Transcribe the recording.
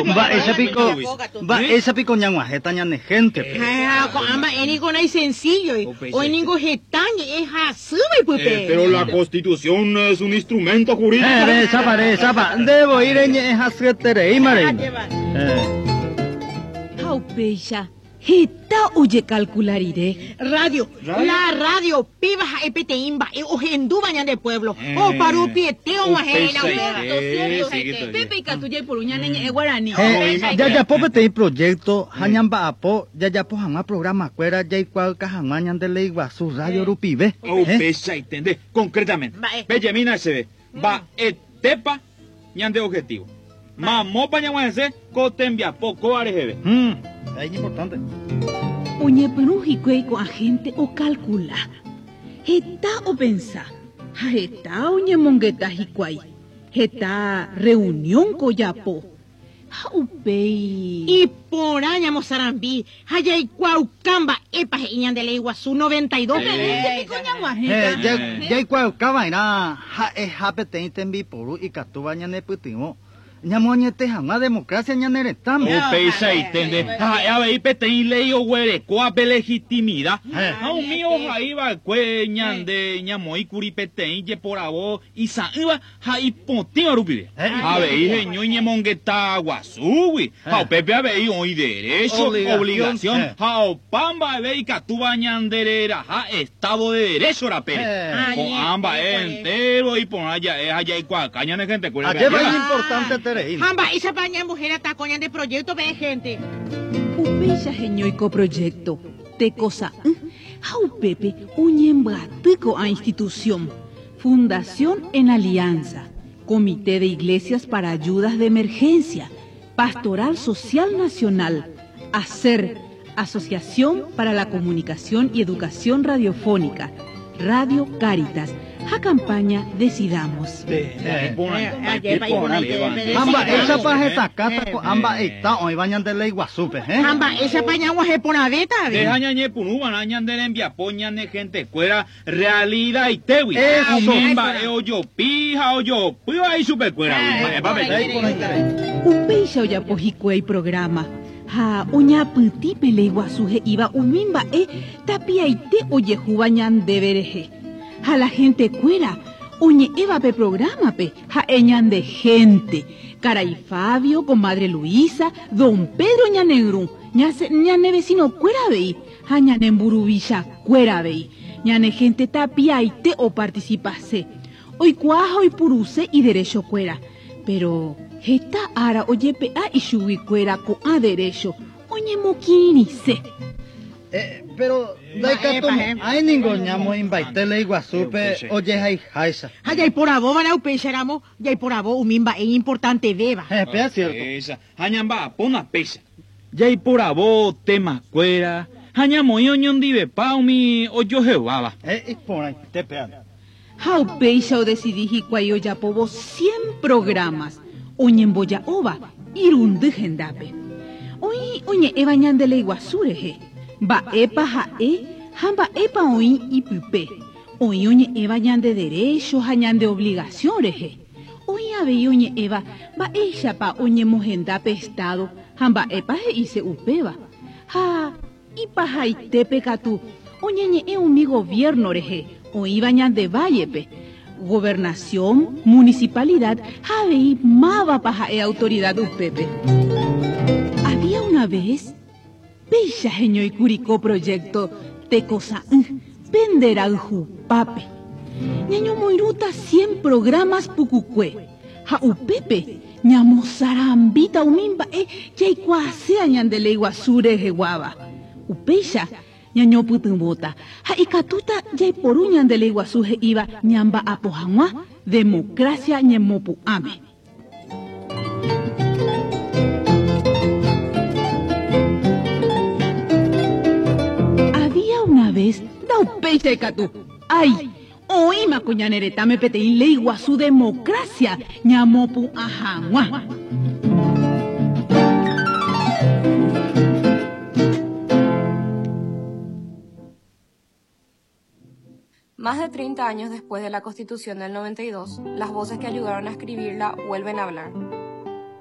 Mba'éicha piko, mba'éicha piko ñag̃uahẽta ñane héntepe? Ha ko'ã mba'e niko naisencílloi, oĩ ningo heta ñe'ẽ hasýva ipype. Pero la Constitución es un instrumento jurídico. Rehechápa, rehechápa, nde voi reñe'ẽ hasyetereíma reína. Ha upéicha Heta ojekalkula rire. Radio, la radio, péva ha'e peteĩ mba'e ohendúva ñande pueblo, opa rupiete og̃uahẽ hína upéva. Pépe ikatu jaiporu ñane ñe'ẽ guarani. Jajapo peteĩ proyecto ha ñamba'apo jajapo hag̃ua programa-kuéra jaikuaauka hag̃ua ñande Léi Guasu radio rupive. Upeichaite nde, concretamente, pejemína chéve, mba'etépa ñande objetivo. Mamópa ñag̃uahẽse ko tembiapo kóva reheve? Ha iñimportánte. Oñepyrũ hikuái ko'ã hénte okalkula. Heta opensa ha heta oñemongeta hikuái. Heta rreunión ko ojapo. Ha upéi. Iporã ñamosarambi ha jaikuaauka mba'épa he'i ñande Léi Guasu 92 peve. Jaikuaauka va'erã ha'eha peteĩ tembiporu ikatúva ñanepytyvõ ñamoañete hag̃ua democracia ñane retãme. Upeichaite nde, ha ha'e avei peteĩ léi oguerekóva pe legitimida, ha umi ohai va'ekue ñande ñamoĩkuri peteĩ jeporavo isa'ỹva ha ipotĩva rupive. Avei heñói ñemongeta guasúgui, ha upépe avei oĩ derécho, obligación ha opa mba'eve ikatúva ñandereraha Estado de Derecho rapére. Ko'ã mba'e entéro iporã ja'e ha jaikuaaka ñane gentekuérape. Ajépa iñimportanteterei. Ha mba'éichapa ñambohérata ko ñande proyecto peẽ gente. Upéicha heñói ko proyecto, tekosa'ỹ, ha upépe oñembyaty ko'ã institución. Fundación en Alianza, Comité de Iglesias para Ayudas de Emergencia, Pastoral Social Nacional, ACER, Asociación para la Comunicación y Educación Radiofónica, Radio Cáritas ha campaña Decidamos. Ha mba'éichapa hesakãta ko'ã mba'eita oĩva ñande Léi Guasúpe, hẽ? Ha mba'éichapa ñag̃uahẽ porãvéta avei? Nde ha ñañepyrũva'erã ñande rembiapo ñane gentekuéra Realidad-itégui, umi mba'e ojopi ha ojopýva ichupekuéragui. Mba'épa peje? Upéicha ojapo hikuái programa ha oñapytĩ pe léi guasu he'íva umi mba'e tapiaite ojehúva ñandéve rehe. Ha la gentekuéra oñe'ẽva pe programa-pe ha'e ñande gente, karai Fabio, comadre Luisa, don Pedro ñane yrũ, ñane vecino-kuéra avei, Ha ñane mburuvichakuéra avei, ñane hénte tapiaite opartisipase, oikuaa ha oipuruse iderechokuéra. Péro heta ára ojepe'a ichuguikuéra ko'ã derécho oñemokirirĩse. Péro ndaikatumo'ãi ningo ñamoĩmbaite Léi Guasúpe ojehaiháicha. Ha jaiporavóva'erã upéicharamo, jaiporavo umi mba'e iñimportantevéva. Péa siérto. Ha ñamba'apóna péicha. Jaiporavo temakuéra ha ñamoĩ oñondivepa umi ojoheváva. Iporãite péa. Ha upéicha odesidi hikuái ojapóvo cien programas oñemboja'óva irundy hendápe. Oĩ oñe'ẽva ñande Léi Guasu rehe, mba'épa ha'e ha mba'épa oĩ ipype. Oĩ oñe'ẽva ñande derécho ha ñande obligasión rehe. Oĩ avei oñe'ẽva mba'éichapa oñemohenda pe Estado ha mba'épa he'ise upéva. Ha ipahaitépe katu oñeñe'ẽ umi goviérno rehe oĩva ñande vállepe, gobernación, municipalidad ha avei mávapa ha'e autoridad upépe. Había una vez, péicha heñóikuri ko proyecto Tekosa'ỹ pende rayhupápe. Ñañomoirũta cien programas pukukue ha upépe ñamosarambíta umi mba'e jaikuaaséa ñande Léi Guasu reheguáva. Upéicha ñañopytyvõta ha ikatúta jaiporu ñande Léi Guasu he'íva ñamba'apo hag̃ua democracia ñemopu'ãme. Había una vez ndaupéicha ikatu. Ái! Oĩma ko ñane retãme peteĩ léi guasu democracia ñamopu'ã hag̃ua. Más de 30 años después de la Constitución del 92, las voces que ayudaron a escribirla vuelven a hablar.